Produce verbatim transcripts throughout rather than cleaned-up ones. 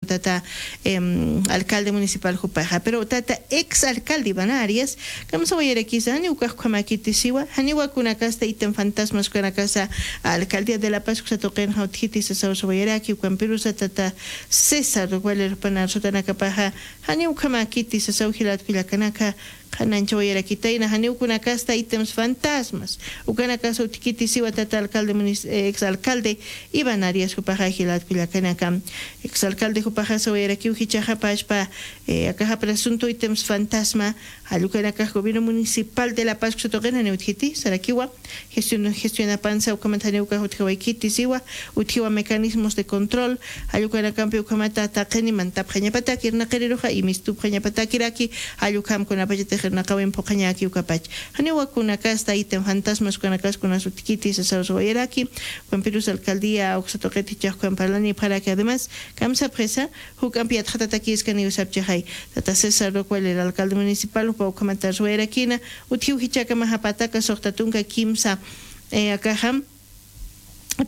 tata, em, alcalde municipal jupaxa. Pero tata ex alcalde Iván Arias, kamsawayarakisa, janiw ukax ukhamäkiti siwa, janiwa kunakasta ítem fantasmas ukanakasa alcaldía de La Paz uksa tuqinxa utjiti sasaw sawayaraki, ukampirusa tata César Wallera jupan arsutanakapaxa, janiw ukhamäkiti sasaw jilat kullakanaka, qhanañchawayarakitayna, janiw kunakasta ítems fantasmas ukanakasa utjkiti siwa tata alcalde munis-, eh, ex alcalde Iván Arias jupaxa jilat kullakanaka. Ex alcalde jupaxa sawayarakiw jichhaxa pachpa, eh, akaxa presunto ítems fantasma, jall ukanakax gobierno municipal de La Paz uksa tuqin janiw utjiti, sarakiwa, gestión, gestionapansa ukhamat janiw ukax utjawaykiti siwa, utjiwa mecanismos de control, jall ukanakampi ukhamata taqini mantapxañapataki irnaqiriruxa, imistupxañapatakiraki, jall ukham kunapachatix irnaqawin phuqhañäki ukapach. Janiwa kunakasta ítem fantasmas ukanakas kunas utjkiti sasaw sawayaraki, ukampirus alcaldía uksa tuqit jichhax ukham parlanipxaraki, además, kamsapxisa, juk'ampi yatxatatakïskaniw sapchixay. Tata César Roca Wallera alcalde municipal, jupa ukhamat arsuwayarakïna, utjiw jichhakamaxa pataka suxta tunka kimsa, eh, akaxam,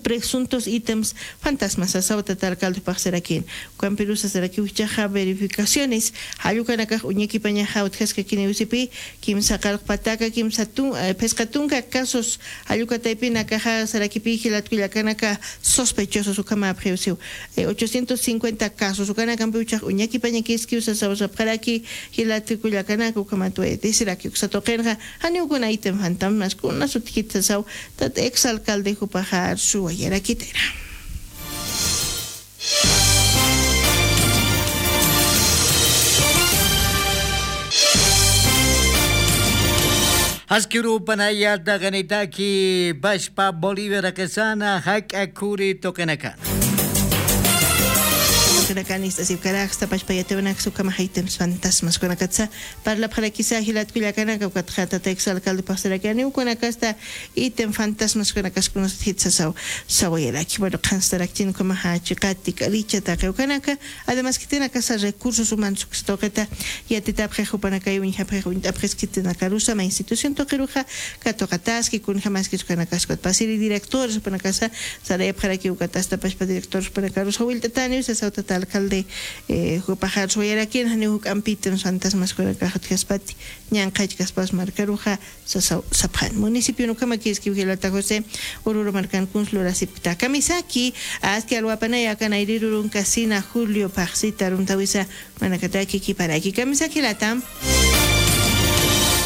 presuntos ítems fantasmas sasaw tata alcalde jupax sarakïn. Ukampirusa sarakiw jichhaxa verificaciones, jall ukanakax uñakipañaxa utjaskakiniw sipï, kimsa qarq pataka, kimsa tun-, eh, phisqa tunka casos, jall uka taypin akaxa sarakipï jilat kullakanaka sospechosos ukhamäpxiw siw. Eh, ochocientos cincuenta casos, ukanakampiw jichhax uñakipañakïskiw sasaw sapxaraki, jilat kullakanaka ukhamat wayatïsiraki uksa tuqinxa, janiw kuna ítem fantasmas kunas utjkiti sasaw, tata ex alcalde jupaxa arsuwayarakitayna. Aski urupanaya taqinitaki pachpa Bolivia raqisana jak'a khuri tuqinaka. Tuqinakan ist'asipkaraksta pachpa yatiwanaksa ukhamaxa ítems fantasmas kunakatsa parlapxarakisa jilat kullakanaka, ukatxa tata ex alcalde paxsaraki janiw kunakasta ítem fantasmas kunakasa kunas utjkiti sasaw sawayaraki. Bueno, qhanstarakchin ukhamaxa chiqati, k'aricha, taqi ukanaka, además khitinakasa recursos humanos uksa tuqita yatitapxix jupanakaw uñjapxix uñt'apxis khitinakarusa mä institución tuqiruxa katuqataski, kunjamaskis ukanakasa ukat pasiri directores jupanakasa sarayapxaraki, ukatasta pachpa directores jupanakarusa willt'ataniw sasaw tata alcalde, eh, jupaxa arsuwayarakïn, janiw juk'ampi ítems fantasmas kunakax utjaspati, ñanqhachkaspas markaruxa sasaw sapxan. Municipio ukhamakïskiw jilata José, Oruro markan kuns lurasipkta. Kamisaki, aski alwapanaya akan ayrir urunka sina Julio phaxsita arumtawisa, manakataki khiparaki. Kamisaki jilata.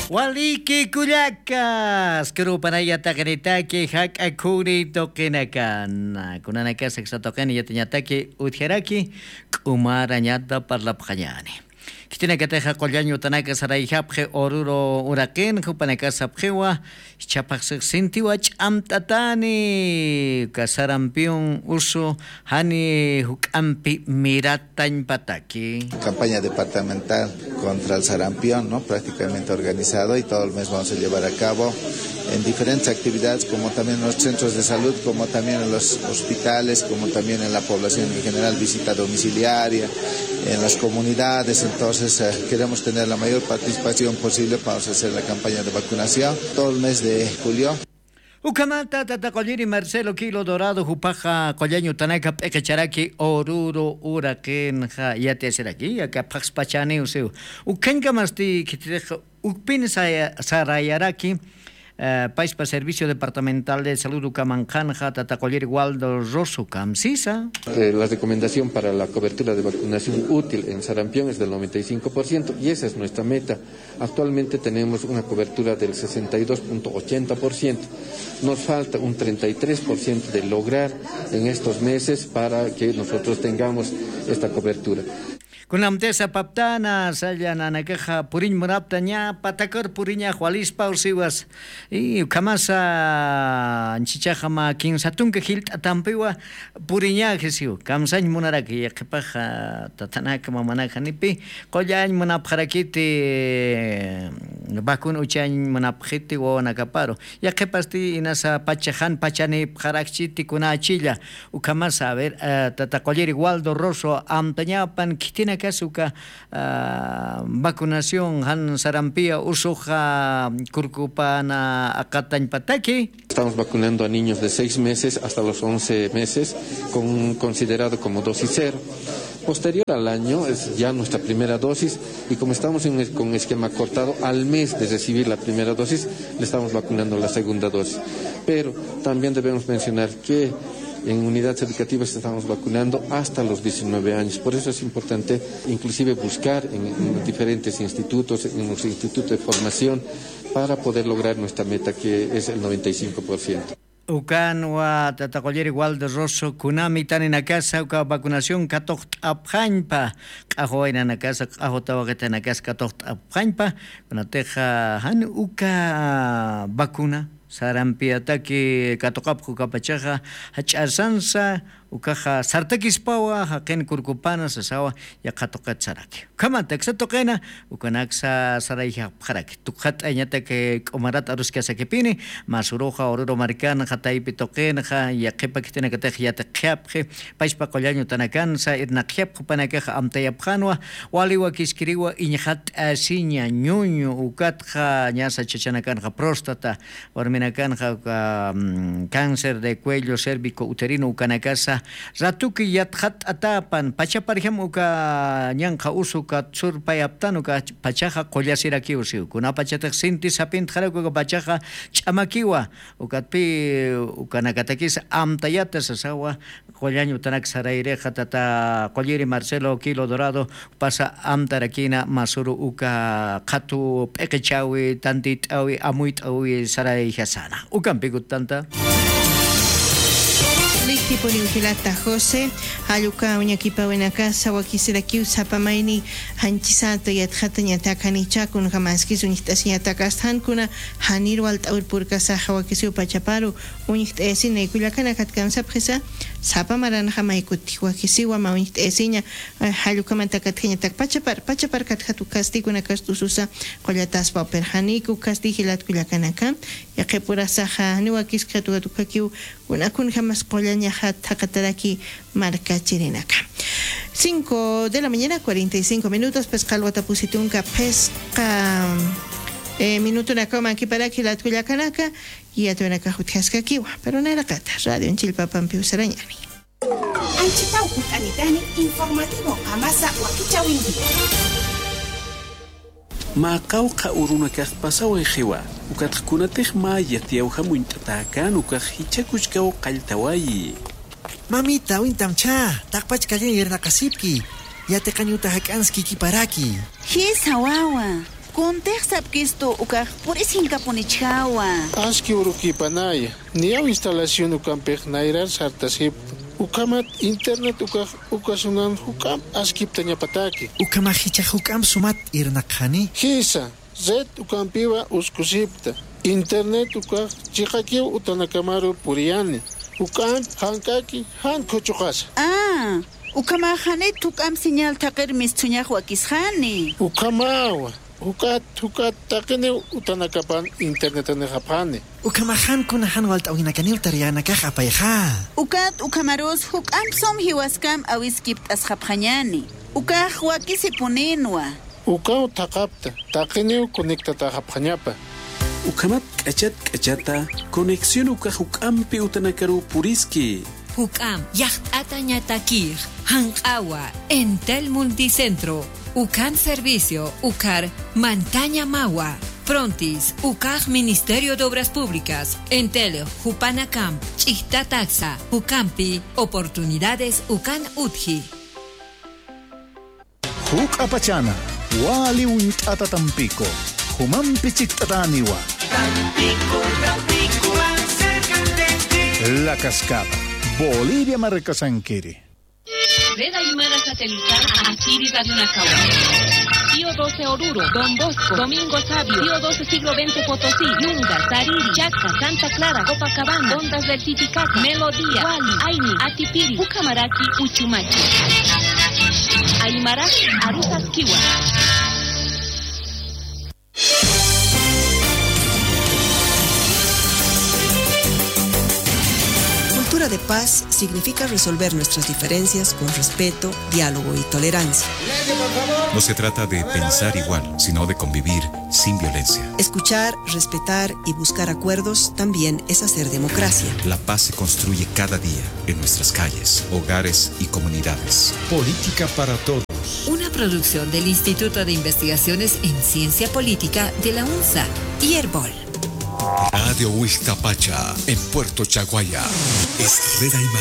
Waliki kullaka, aski urupanaya taqinitaki jak'a khuri tuqinakan. Kunanakasa uksa tuqin yatiñataki utjaraki, k'umarañata parlapxañäni. Khitinakatixa qullañ utanaka sarayjapxi Oruro uraqin, jupanakasapxiwa, jichhapax six sintiwa ch'amt'atani, uka sarampión usu jani juk'ampi miratañpataki. Campaña departamental contra el sarampión, ¿no? Prácticamente organizado y todo el mes vamos a llevar a cabo en diferentes actividades, como también en los centros de salud, como también en los hospitales, como también en la población en general, visita domiciliaria, en las comunidades. Entonces, eh, queremos tener la mayor participación posible para hacer la campaña de vacunación todo el mes de julio. Ukhamata tata qulliri Marcelo Quilo Dorado, jupaxa qullañ utanaka p'iqicharaki Oruro uraqinxa yatiyasiraki, aka phaxspachaniw siw. Ukhañkamasti khititix ukpin saya-, sarayaraki, eh, paispa Servicio Departamental de Salud ukamanqanxa tata qulliri Waldo Rosso, kamsisa. Eh, la recomendación para la cobertura de vacunación útil en sarampión es del noventa y cinco por ciento, y esa es nuestra meta. Actualmente tenemos una cobertura del sesenta y dos punto ochenta por ciento. Nos falta un treinta y tres por ciento de lograr en estos meses para que nosotros tengamos esta cobertura. Kunamtisa paptana, saya nanakaxa puriñ munapxta, ña patakar puriñax walispaw siwas. Y ukhamasa, anchichaxa mä kinsa tunka jilt'atampiwa puriñaxi siw. Kamsañ munaraki, yaqhipaxa, tatanak, mamanak, janipi qullañ munapxarakiti, vacuna uchañ munapxiti wawanakaparu. Yaqhipasti inasa pachax jan pachanipxarakchiti kunachilla. Ukhamasa, a ver, eh, tata qulliri Waldo Rosso, amtañapan khitinakas uka, ah, vacunación jan sarampión usuxa kurkupana aqatañpataki. Estamos vacunando a niños de seis meses hasta los once meses, con, considerado como dosis cero. Posterior al año es ya nuestra primera dosis y como estamos en el, con esquema cortado, al mes de recibir la primera dosis, le estamos vacunando la segunda dosis. Pero también debemos mencionar que en unidades educativas estamos vacunando hasta los diecinueve años. Por eso es importante inclusive buscar en, en diferentes institutos, en los institutos de formación, para poder lograr nuestra meta, que es el noventa y cinco por ciento. Ukanwa tata qulliri Waldo Rosso, kunami taninakasa uka vacunación katuqt'apxañpa, q'axu waynanakasa, q'axu tawaqitanakasa katuqt'apxañpa, kunatixa jan uka vacuna sarampiataki katuqapxi ukapachaxa, jach'asansa ukaxa sartakispawa, jaqin kurkupana sasawa, yaqha tuqit saraki. Ukhamantaksa tuqina, ukanaksa sarayjapxaraki. Tukxat'añatak, eh, k'umarat aruskasakipini, Masuruxa, Oruro markanxa, taypi tuqinxa, yaqhipa khitinakatix yatiqjapxi, pachpa qullañ utanakansa, irnaqjapxi, jupanakax amtayapxanwa, wali wakiskiriwa, iñxat'asiña, ñuñu, ukatxa, ñasa chachanakanxa, próstata, warminakanxa, uka, mm, cáncer de cuello, cérvico uterino, ukanakasa, ratuki yatxat'atapan, pachaparjam uka ñanqha usu uka surpayaptan uka pachaxa qullasirakiw siw. Kunapachatix sinti sapintxarak uka pachaxa ch'amakiwa, ukatpi ukanakatakis amtayata sasawa, qullañ utanak sarayrixa tata qulliri Marcelo Quilo Dorado, pasa amtarakina Masuru uka qhatu p'iqichawi, tantit'awi, amuyt'awi sarayjasana. Ukampi gustanta. Likipuniw jilata José, jall uka uñakipawinakasa wakisirakiw sapa mayni janchisata yatxatañatak janicha kunjamaskis uñjt'asiñatak asta jankuna janir walt'awir purkasaxa wakisiw pachaparu uñjt'ayasina kullakanakatkamsapxisa sapa maranxa maykutix wakisiwa mä uñjt'ayasiña, eh, jall ukhamantakatjañatak pachapar, pachapar katjat ukasti kunakast'ususa qullataspa upirxaniku ukasti jilat kullakanaka, yaqhipurasaxa jani wakiskxat ukat ukakiw kuna kunjamas qullañaxat jaqataraki markachirinaka. Cinco de la mañana, cuarenta y cinco minutos, phisqa alwata pusi tunka phisqa, eh, minutunakaw mankiparaki jilat kullakanaka, yatwanakax utjaskakiwa, pero nayraqata, radio chillpapampiw sarañani. Anchitaw junt'anitani informativo qamasa wakichäwinkiwa. Mä qawqha urunakax pasawayxiwa, ukatxa kunatix mä yatiyawjam uñt'atäkän ukax jichha kuchkaw qalltawayi. Mamita, wintamchä, taqpach kalliñ irnaqasipki, yatiqañ uta jak'anskikiparaki. Jisa wawa, kuntix sapkistu ukax purisinkapunïchäwa. Aski urukipanaya, niyaw instalación ukampix nayrar sartasipta. Ukhamat internet ukax uka sunan juk'amp askiptañapataki. Ukhamax jichhax juk'amp sumat irnaqxani. Jisa, red ukampiwa uskusipta. Internet ukax chiqakiw utanakamaru puriyani. Juk'amp jank'aki jan khuchuqasa. Ah, ukhamax janit juk'amp señal thaqir misthuñax wakisxani. Ukhamawa. Juk'at, juk'at taqiniw utanakapan internetanixapxani. Ukhamax jan kuna jan walt'äwinakaniw tareanakax apayxä. Ukat ukhamarus juk'amp sum jiwaskam awiskipt'asxapxañäni. Ukax wakisipunïnwa. Ukaw thaqhapta, taqiniw conectataxapxañapa. Ukhamat k'achat k'achata conexión ukax juk'ampi utanakaruw puriski. Juk'amp yaqt'atañatakix, janq'awa, Entel Multicentro, ukan servicio, ukar mantaña mawa. Frontis, ukax Ministerio de Obras Públicas, Entel, jupanakamp, ch'ijtataksa, jukampi, oportunidades, ukan utji. Juk'apachana, wali uñt'ata Tampico, jumampi chikt'atäniwa. Tampico, Tampico, más cerca de ti. La Cascada, Bolivia markasankiri. Red Aymara Satelital, Asiri Radio Nakawa. Pío doce Oruro, Don Bosco, Domingo Sabio, Pío doce Siglo veinte Potosí, Yunga, Tariri, Chaca, Santa Clara, Copacabana, Ondas del Titicaca, Melodía, Wali, Aini, Atipiri, Ucamaraki, Uchumachi. Aymara, Arusaskiwa. Cultura de Paz significa resolver nuestras diferencias con respeto, diálogo y tolerancia. No se trata de pensar igual, sino de convivir sin violencia. Escuchar, respetar y buscar acuerdos también es hacer democracia. La paz se construye cada día en nuestras calles, hogares y comunidades. Política para todos. Una producción del Instituto de Investigaciones en Ciencia Política de la UNSA y Erbol. Radio Huixcapacha, en Puerto Chaguaya. Estrella Imar.